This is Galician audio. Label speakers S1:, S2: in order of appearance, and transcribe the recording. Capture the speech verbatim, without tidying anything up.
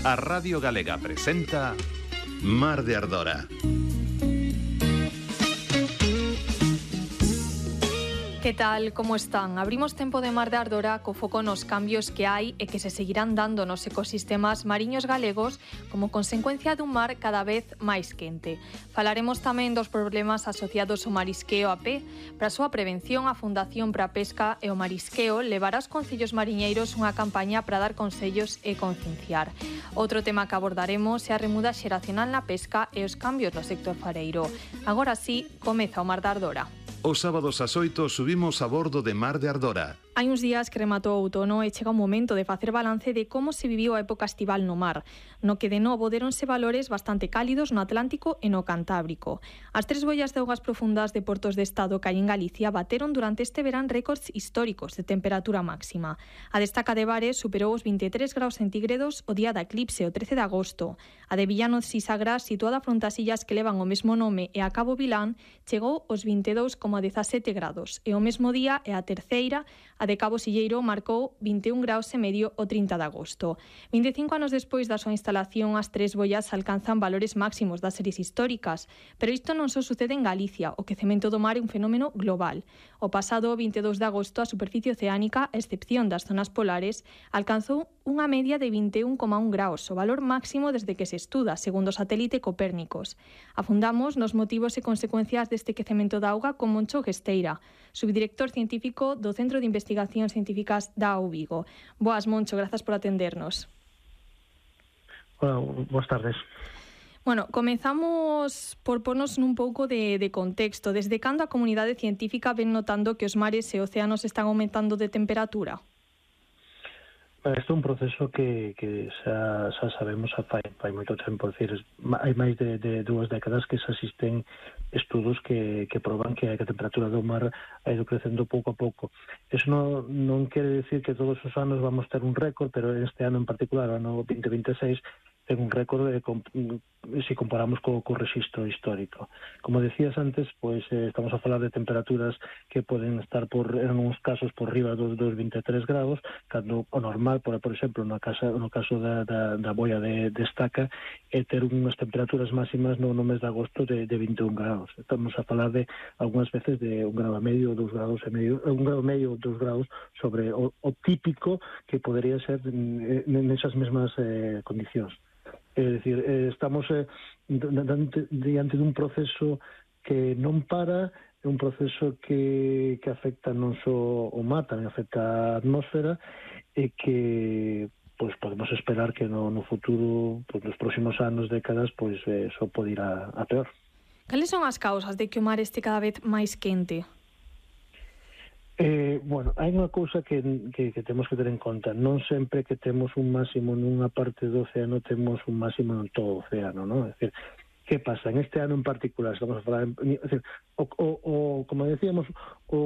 S1: A Radio Galega presenta Mar de Ardora.
S2: Que tal, como están? Abrimos tempo de Mar de Ardora co foco nos cambios que hai e que se seguirán dando nos ecosistemas mariños galegos como consecuencia dun mar cada vez máis quente. Falaremos tamén dos problemas asociados ao marisqueo a pé. Para a súa prevención, a Fundación para a Pesca e o Marisqueo levará aos concellos mariñeiros unha campaña para dar consellos e concienciar. Outro tema que abordaremos é a remuda xeracional na pesca e os cambios no sector fareiro. Agora sí, comeza o Mar de Ardora.
S1: Os sábados ás oito subimos a bordo de Mar de Ardora.
S2: Hai uns días que rematou o outono e chega o momento de facer balance de como se viviu a época estival no mar, no que de novo deronse valores bastante cálidos no Atlántico e no Cantábrico. As tres boias de augas profundas de portos de estado que hai en Galicia bateron durante este verán récords históricos de temperatura máxima. A destaca de Bares superou os vinte e tres graus centígrados o día da eclipse, o trece de agosto. A de Villanos Sisagrás, situada fronte ás illas que levan o mesmo nome e a Cabo Vilán, chegou aos vinte e dous coma dezasete grados e o mesmo día e a terceira, a de Cabo Silleiro, marcou vinte e un graus e medio o trinta de agosto. vinte e cinco anos despois da súa instalación, as tres boias alcanzan valores máximos das series históricas, pero isto non só sucede en Galicia, o quecemento do mar é un fenómeno global. O pasado vinte e dous de agosto, a superficie oceánica, a excepción das zonas polares, alcanzou unha media de vinte e un coma un graus, o valor máximo desde que se estuda, segundo o satélite Copérnicos. Afundamos nos motivos e consecuencias deste quecemento da auga con Moncho Gesteira, subdirector científico do Centro de Investigacións Científicas da U Vigo. Boas, Moncho, grazas por atendernos.
S3: Hola, boas tardes.
S2: Bueno, comezamos por pornos nun pouco de, de contexto. Desde cando a comunidade científica ven notando que os mares e océanos están aumentando de temperatura?
S3: Isto é un proceso que, que xa, xa sabemos xa fai, fai moito tempo. Decir, hai máis de, de dúas décadas que se asisten estudos que, que proban que a temperatura do mar ha ido crecendo pouco a pouco. Eso non, non quere decir que todos os anos vamos ter un récord, pero este ano en particular, o ano vinte vinte e seis, ten un récord de, se comparamos co, co registro histórico. Como decías antes, pois eh, estamos a falar de temperaturas que poden estar por, en uns casos por riba dos, dos vinte e tres grados, cando o normal, por, por exemplo, no, casa, no caso da, da, da boia de, de estaca, é ter unhas temperaturas máximas no, no mes de agosto de, de vinte e un grados. Estamos a falar de, algunhas veces, de un grado e medio, dous grados e medio, un grado e medio, dous graus sobre o, o típico que podería ser nesas mesmas eh, condicións. É dicir, eh, estamos eh, diante, diante dun proceso que non para, é un proceso que, que afecta non só o mar, tamén afecta a atmósfera, e que pois podemos esperar que no, no futuro, pois nos próximos anos, décadas, pois eh, só pode ir a, a peor.
S2: Cales son as causas de que o mar este cada vez máis quente?
S3: Eh, bueno, hai unha cousa que, que, que temos que ter en conta. Non sempre que temos un máximo nunha parte do océano temos un máximo en todo o océano, non? É dicir, que pasa? En este ano en particular, estamos a falar, en, é dicir, o, o, o, como decíamos, o